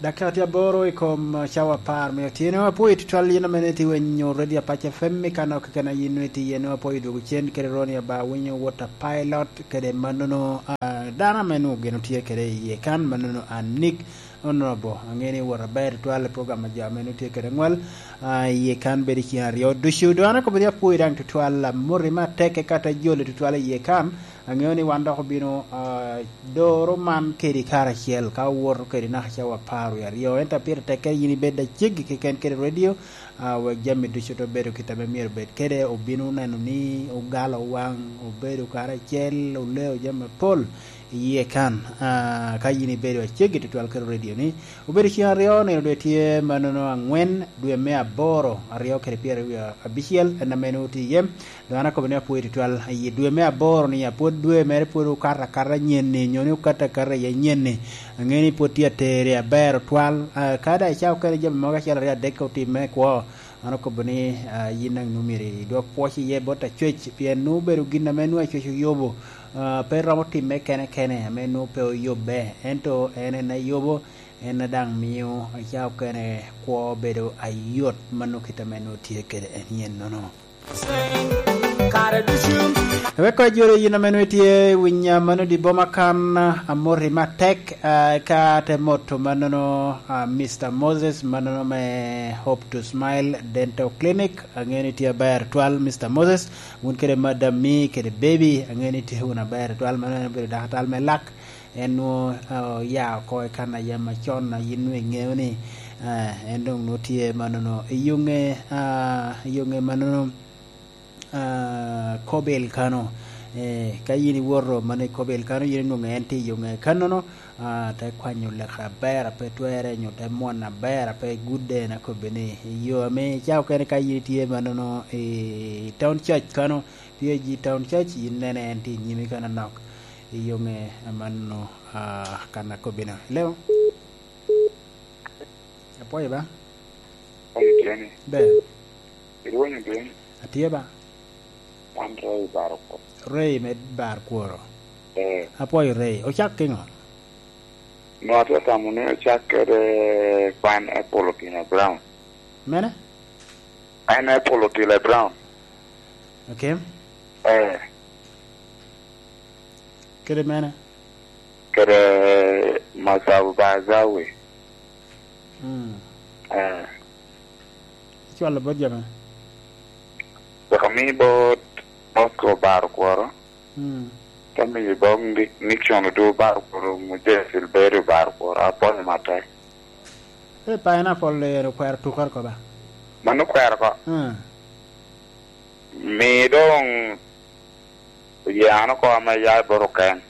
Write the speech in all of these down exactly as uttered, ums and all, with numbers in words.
Dakika tye aboro i kom, uh, cawa apar me otyeno. Apwoyo tutwal yin ame niti wenyo Radio Apac F M i kano keken a yin niti yen. Apwoyo dwogo cen kede Ronnie Aba winyo Water Pilot kede mannono, uh, dano ame nwogo gin otye kede iye kan, mannono Anik Honorable. Ange ni wot aber tutwal i program a jo ame nwogo tye kede ngwal, uh, iye kan bedo i ceng aryo ducu. Dong an akobo ni apwoyo daŋ tutwal, uh, moti me atek eka te jolo tutwal iye kan. Aŋeo ni wan dok obino, ah, doro man kedi karacel, ka owoto kedi naka cawa apar wie aryo. Ento pire tekke yin ibed aceggi keken kede redio, ah, wek jami ducu te bedo kit ame myero obed kede. Obino neno ni ogalo waŋ, obedo karacel, oleo jami apol iye kan. Ah, ka yin ibedo aceggi tutwal kede redio ni, obedo ceng aryo, nino dwe tye mannono angwen, dwe me aboro, aryo kede pyeraryo abicel, en ame nwoŋo tye iye. Dong an akobo ni apwoyo tutwal. I dwe me aboro ni, apwod dwe mere pwod okato akata nyen-ni, nyo ni okato akata i nyen-ni. Aŋeo ni pwod tye atere aber otwal. Ah, ka daŋ icako kene jami mogo acel aryo adek otimme kwo, an akobo ni, ah, yin daŋ nwoŋo myero idwok pwoc iye bot Acwec, pien nwoŋo obedo gin ame nwoŋo Acwec oyubo. Ah, pe romo timme kene kene, ame nwoŋo pe oyubbe. Ento en en ayubo, en daŋ mio icako kene kwo bedo ayot, mano kit ame nwoŋo tye kede en yennono. Kare ducu. Wek kɔc joro yin ame nwoŋo itye winya mano di boma kan, amoti matek, ah, ka te moto mannono, ah, Mister Moses, mannono me Hope to Smile Dental Clinic. Aŋeo ni tye aber twal, Mister Moses, wun kede madam mi kede baby, aŋeo ni tye wun aber twal, mannono en obedo daktal me lak. En nwoŋo, ah, oya oko i kan a yam acon, a yin nwoŋo iŋeo ni, ah, en doŋ nwoŋo tye mannono i yoŋe, ah, i yoŋe mannono, ah, Kobel kano. Eh, ka yin iwoto mannono i Kobel kano, yin inwoŋo en tye i yoŋe kannono, ah, te kwanyo lek aber a pe twerre, nyo te mwon aber a pe gudde, en akobbe ni, i yo ame ca okene ka yin itye mannono i Town Church kano, P A G Town Church, yin nene en tye i nyimi kano nok. I yoŋe amanno, ah, kan akobbi-nu. Leo? Apwoyo ba? Kong tye ni. Ber. Irwonyo dwe ni? Atye ba? Wan Ray Bar Kworo. Ray me Bar Kworo. Eh. Apwoyo Ray. Ocak kiŋo? No, atye tamo ni ocak kede Pineapple Otile Brown. Mene? Pineapple Otile Brown. Okay. Eh. Kede mene? Kede Masabu Bazawi. Mm. Eh. Icwalo bot jami? Wek ami bot Bosco Bar Kworo. Mm. Te miyo bot Ni-, Nixon Odur Bar Kworo, Muje Silberio Bar Kworo, apwoyo matek. E, pineapple ero okwero tukere ko ba? Mano okwero ko. Mm. Mi doŋ oye an oko ame ya i bot oken.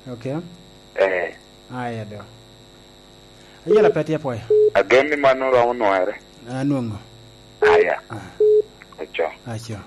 Okay. Eh. Aya do. Ayela pe tye apwoyo. Agen ni mano romo nwere. Anwoŋo. Aya. Ah. Aco. Aco.